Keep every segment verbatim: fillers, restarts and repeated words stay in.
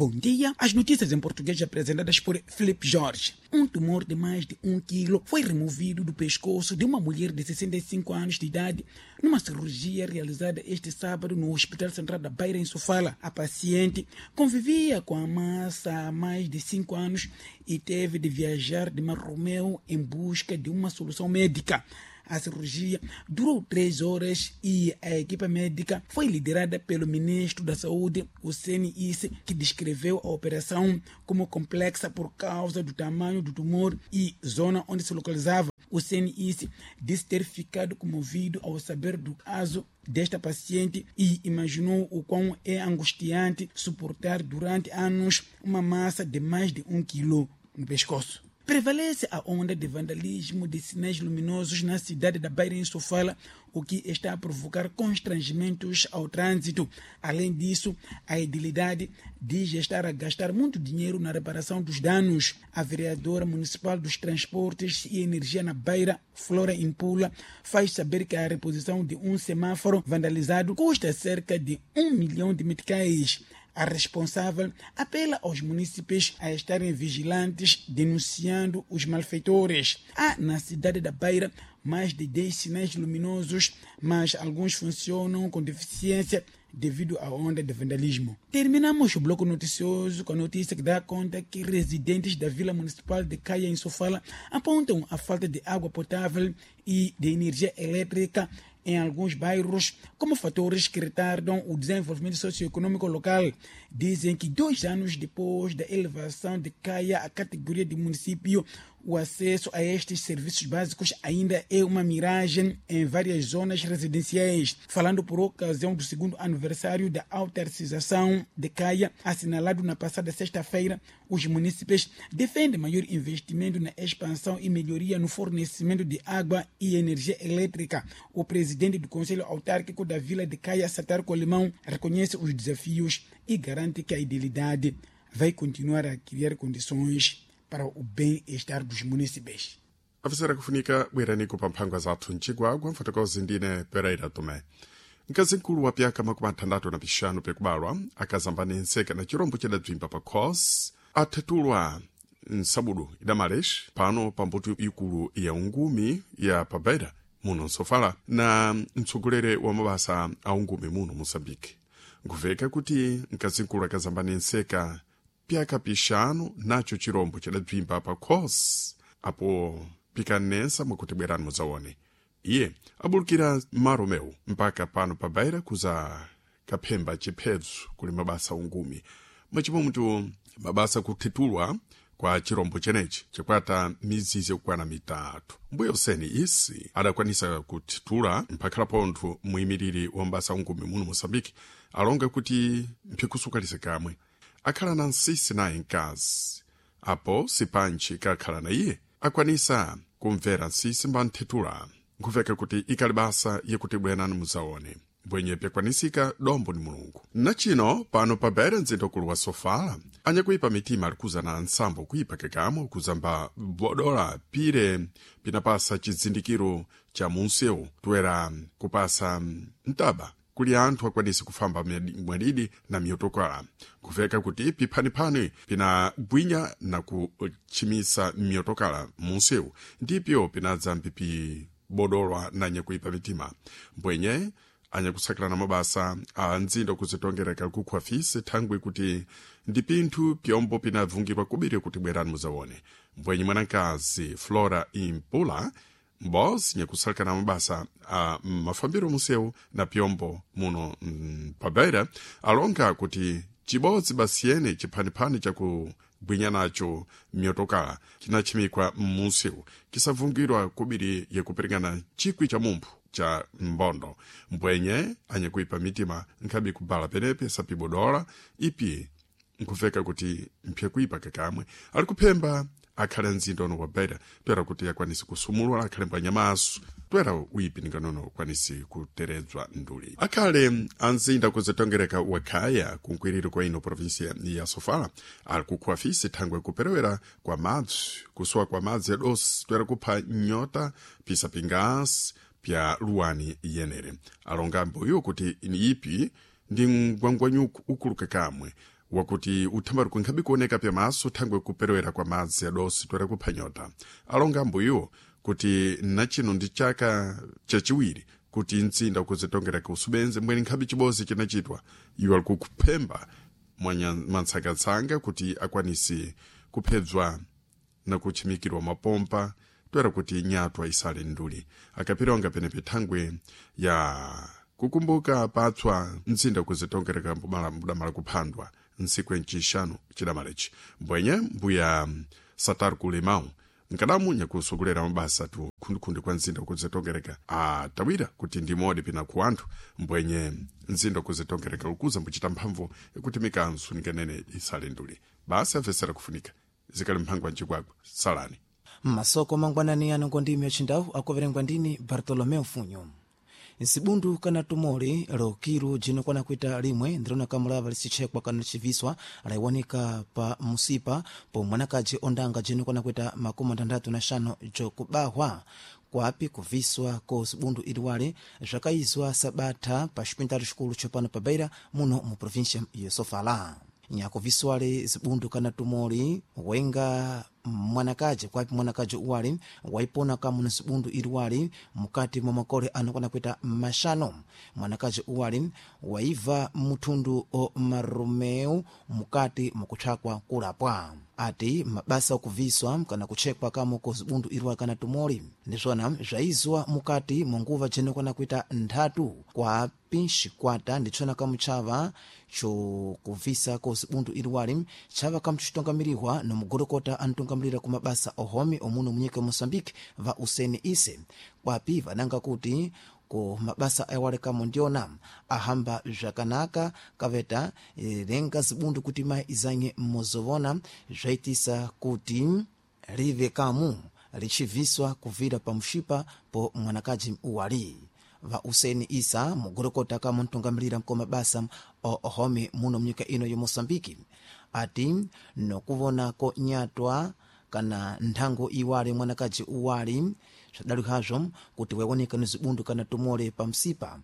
Bom dia. As notícias em português apresentadas por Felipe Jorge. Um tumor de mais de um quilo foi removido do pescoço de uma mulher de sessenta e cinco anos de idade numa cirurgia realizada este sábado no Hospital Central da Beira, em Sofala. A paciente convivia com a massa há mais de cinco anos e teve de viajar de Marromeu em busca de uma solução médica. A cirurgia durou três horas e a equipa médica foi liderada pelo ministro da Saúde, Hussein Isse, que descreveu a operação como complexa por causa do tamanho do tumor e zona onde se localizava. Hussein Isse disse ter ficado comovido ao saber do caso desta paciente e imaginou o quão é angustiante suportar durante anos uma massa de mais de um quilo no pescoço. Prevalece a onda de vandalismo de sinais luminosos na cidade da Beira, em Sofala, o que está a provocar constrangimentos ao trânsito. Além disso, a edilidade diz estar a gastar muito dinheiro na reparação dos danos. A vereadora municipal dos Transportes e Energia na Beira, Flora Impula, faz saber que a reposição de um semáforo vandalizado custa cerca de um milhão de meticais. A responsável apela aos munícipes a estarem vigilantes, denunciando os malfeitores. Há na cidade da Beira mais de dez sinais luminosos, mas alguns funcionam com deficiência devido à onda de vandalismo. Terminamos o bloco noticioso com a notícia que dá conta que residentes da Vila Municipal de Caia, em Sofala, apontam a falta de água potável e de energia elétrica em alguns bairros como fatores que retardam o desenvolvimento socioeconômico local. Dizem que dois anos depois da elevação de Caia à categoria de município, o acesso a estes serviços básicos ainda é uma miragem em várias zonas residenciais. Falando por ocasião do segundo aniversário da autarcização de Caia, assinalado na passada sexta-feira, os munícipes defendem maior investimento na expansão e melhoria no fornecimento de água e energia elétrica. O presidente do Conselho Autárquico da Vila de Caia, Satar Colimão, reconhece os desafios e garante que a idilidade vai continuar a criar condições para o bem-estar dos munícipes. Afisera kufunika bwerani kupamphangwa zathu mchigwagwa mfotokozi ndine Pereira Tomé. Mkazi mkulu wa pyaka makumi athandathu na pixanu pyakubalwa akazambani nseka na chirombo chidabzimba pa khos athetulwa nsabudu idamalex pano pambuto ikulu ya ungumi ya pabeira muno nsofala na mtsogoleri wa mabasa a ungumi muno Moçambique. Nkuveka kuti mkazi mkulu akazambani nseka pyaka pixanu nacho chirombo chidabzimba pa khos apo pikanensa mwakuti bwerani mudzaone. Iye abulukira maromeu mpaka pano pa Beira kuza kaphemba chiphedzo kuli mabasa ungumi mwachimomtu mabasa kuthitulwa kwa chirombo chenechi chikwata mizizi yakukwana mitatu. Mbuya useni isi adakwanisa kuthitula mphakhala pontho muyimiriri wa mabasa ungumi muno Moçambique alonga kuti mphikusukalise kamwe akhala na nsisi naye mkazi apo sipanchi kakhala na iye akwanisa kumvera nsisi mbanthethula. Nkuveka kuti ikali basa yekuti bwenani muzaone bwenye pyakwanisika dombo ni Mulungu. Nachino pano pa Beira mzinda ukulu wa Sofala anyakuipa mitima alikuza na nsambo kuipa kekamo kuzamba bodola pire pinapasa chizindikiro cha munsewu toera kupasa mtaba kuli anthu akwanise kufamba mwadidi na miyotokala. Nkuveka kuti piphaniphani pinagwinya na kutchimisa miyotokala munsewu ndipyo pinadza mpipibodolwa na nyakuipa mitima mbwenye anyakusakirana mabasa a nzinda kuzitongereka kukhwa fisi thangwi kuti ndi pinthu pyombo pinavungidwa kubiri kuti bwerani muzaone. Mbwenye mwanakazi Flora Impula mbozi nyakusalakana mabasa a mafambiro munsewu na pyombo muno mm, pabeira alonga kuti chibodzi basiyene chiphaniphani chakugwinya nacho miyotokala chinachimikwa mmunsewu kisavungidwa kubiri yakuperekana chikwi cha mumphu cha mbondo. Mbwenye anyakuipa mitima nkhabe kubala penepe sapibodola ipi nkuveka kuti mpyakuipa kakamwe ali kuphemba akhale mzinda uno wa Beira toera kuti akwanise kusumulwa akhale mbwanyamaso toera uipi ninganono ukwanise kuteredzwa nduli. Akhale anzinda kuzitongereka wakhaya kunkwiriro kwa ino provinsia ya Sofala ali kukhuwa fisi thangwe kuperewera kwa madzi kusowa kwa madzi adosi toera kupha nyota pisa pingasi pya luwani yenere. Alonga mbuyo kuti ni ipi ndi mgwangwanyuku ukuluka kamwe Wakuti uthambali kunkhabi kuoneka pyamaso thangwe kuperewera kwa madzi adosi twere kuphanyota. Alonga ambuyiwo kuti nachino ndi chaka chachiwiri kuti mtsinda ukuzitongereka usubenze mbweni nkhabi chibozi chinachitwa iwo ali kuphemba mwantsakatsanga kuti akwanise kuphedzwa na kutchimikirwa mapompa toera kuti nyatwa isale nduli. Akapirionga penepe thangwe ya kukumbuka patswa mtsinda kuzitongereka mbudamala kuphandwa ntsiku ncixanu cidamalechi mbwenye mbuya Satar Kulemau nkadamu nyakusogolera mabasa tu khundikhundi kwa mzinda kuzitongereka atawira kuti ndimodi pina ku anthu mbwenye mzinda kuzitongereka lukuza mbuchita mphamvu ikuti mikanso nikanene isale nduli. Basi amvesera kufunika zikali mphango wa mcikwakwa salani. Masoko mangwanani ano ngondimi yachindawu akuverengwa ndini Bartolomeu Funyo. Nsibundu kana tumoli lokilu jinokwana kuita limwe ndilona kamulava lisichekwa kana lichiviswa laiwanika pa musipa po mwanakaji ondanga jinokwana kuita makumi atandatu na xanu jokubahwa kwapi kuviswa ko sibundu iliwale zvakaizwa sabatha pa xipintalo xikulu tsopano pa Beira muno mu província ya Sofala. Nyakuviswale zibundu kana tumoli wenga mwanakaji kwapi mwanakaji uwali waipona kamu na zibundu iliwali mukati mwa makole anokwana kuita maxanu. Mwanakaji uwali waiva muthundu o marumeu mukati mukutchakwa kulapwa. Ati mabasa okuviswa kana kutchekwa kamu ko zibundu iliwali kana tumoli ndizvona zvaizwa mukati mwa nguva jinokwana kuita nthatu kwapi xikwata nditsvona kamutchava chokuvisa ko zibundu iliwali tchava kamuchitongamirihwa no mugolokota anitongamirira ku mabasa ohomi omuno munyika ya Moçambique va Useni Ise kwapi vananga kuti ku mabasa awale kamo ndiona ahamba zvakanaka kaveta lenga zibundu kuti mai izanye mozovona zvaitisa kuti live kamu lichiviswa kuvira pamushipa po mwanakaji uwali. Va Useni Isa mugolokota kamo ntongamirira mko mabasa ohomi muno munyika ino ya Moçambique ati nokuvonako nyatwa kana nthango iwali mwanakaji uwali zvadalihazvo kuti waiwoneka ni zibundu kana tumole pamsipa.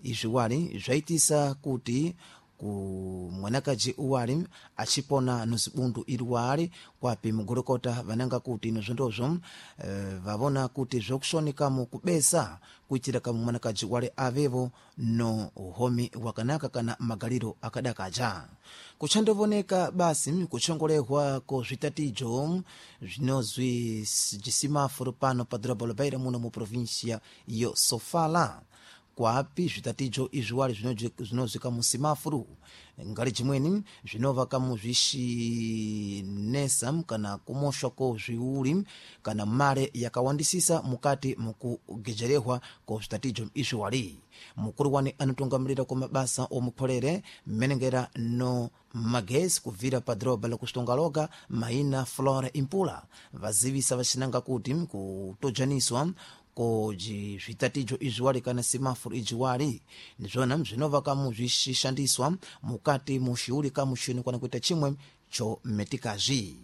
Izvi wali zvaitisa kuti ku mwanakaji uwali achipona no zibundu iliwali kwapi mugolokota vananga kuti nozvondozvo e, vavona kuti zvokushonekamo kubesa kuitira kamu mwanakaji wale avevo no uhomi wakanaka kana magaliro akadakaja. Kuchandovoneka basi kuchongolehwa ko zvitatijo zvinozwi jisimafuro pano pa dhorobha la Beira muno mu província yo Sofala. Kwapi zvitatijo izviwali zvinozwika musimafuru ngali jimweni zvinova kamu zvishinesa kana kumoshwa ko zviuli kana male yakawandisisa mukati mukugejerehwa ko zvitatijo izviwali. Mukulu wani anotungamirira ko mabasa omukholere mmenengera no magesi kubvira pa dhorobha la kuxitongaloga maina Flora Impula vazivisa vaxinanga kuti kutojaniswa ko zvitatijo izviwali kana simafuro ijiwali ndizvona zvinova kamu zvishandiswa mukati muxiuli kamu xino kana kuita chimwe cho metikazi.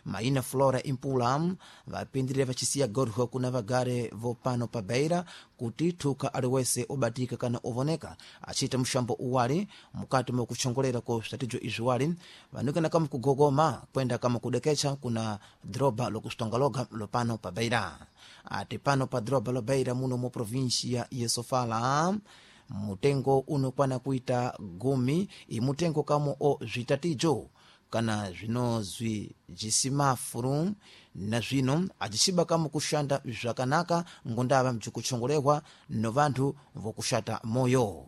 Maina Flora Impula vapindirire vachisiya gorho kuna vagare vopano pa Beira kuti thuka aliwese obatika kana ovoneka achiita mushambo uwali mukati mokuchongolera ko zvitatijo izviwali vanukana kama kugogoma kwenda kama kudekecha kuna dhorobha lokuxitongaloga lopano pa Beira. Ati pano pa dhorobha lo Beira muno mu província ya Sofala mutengo unokwana kuita gumi imutengo kamo o zvitatijo kana zvinozwi jisimafuru na zvino ajixiba kamo kuxanda zvakanaka ngondava mjikuchongolehwa no vanthu vokuxata moyo.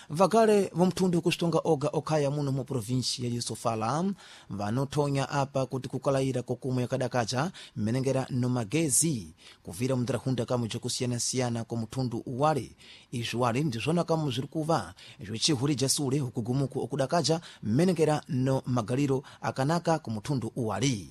Vagale vomthundu kuxitonga oga okhaya muno mu província ya Sofala vanothonya apa kuti kukalayira kokumwe yakadakaja mmenengera no magezi kuvira mundarahunda kamu jakusiyanasiyana kwa muthundu uwali. Izvi wali ndizvona kamu zviri kuva zvicihurija sule ukugumuku okudakaja mmenengera no magaliro akanaka ku muthundu uwali.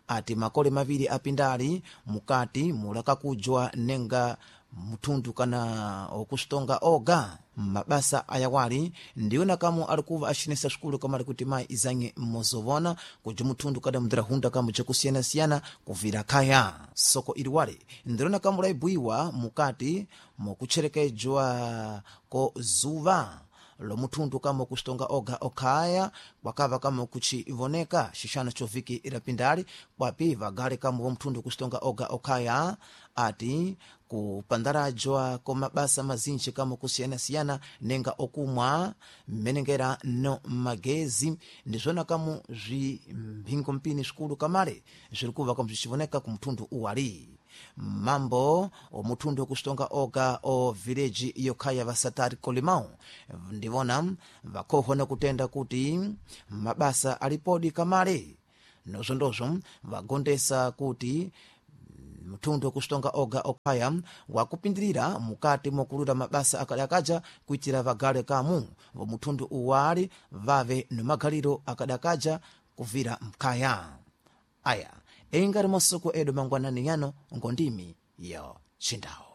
Ati makole maviri apindali mukati mulakakujwa nenga muthundu kana okuxitonga oga mabasa ayawali ndiwona kamo ali kuva axinesa swikulu kama ali kuti mayi izanye mozovona kuja muthundu kada mndirahunda kamo jakusiyanasiyana kuvira khaya. Soko iliwali ndilona kamo laibuiwa mukati mukutcherekejwa ko zuva lomuthundu kama kusitonga oga okhaya kwakava kama kuchivoneka xixano choviki irapindali kwapi vagale kama vomthundu kusitonga oga okhaya ati kupandarajwa kwa mabasa mazinji kama kusiyanasiyana nenga okumwa mmenengera no magezi ndizvona kamu zvimphingo mpini zvikulu kamale zviri kuva kamu zvichivoneka kumthundu uwali mambo omuthundu okusitonga oga o village yokhaya vasatari kolimão ndivona vakhohwa kutenda kuti mabasa alipodi kamale nozvondozvo vagondesa kuti mthundu okusitonga oga okhaya wakupindirira mukati mokulura mabasa akadakaja kuitira vagale kamu vomuthundu uwali vave nomagaliro akadakaja kuvira mkhaya aya engari masuku edu mangwanani yano ngondimi yo chindawo.